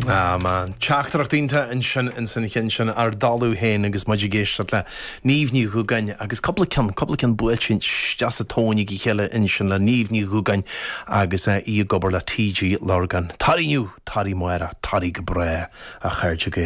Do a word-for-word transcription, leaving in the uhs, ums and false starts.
Ah man, Teachtaireacht iontach ansin in san chin sin ar dalú héin agus muid ag éisteacht le Niamh Ní Dhúgáin agus cúpla ceann cúpla ceann buailte isteach sa tóin ag chéile ansin le Niamh Ní Dhúgáin agus í ag obair le TG Lurgan. Tar inniu, tar amárach, tar go bráth a chairde Gael.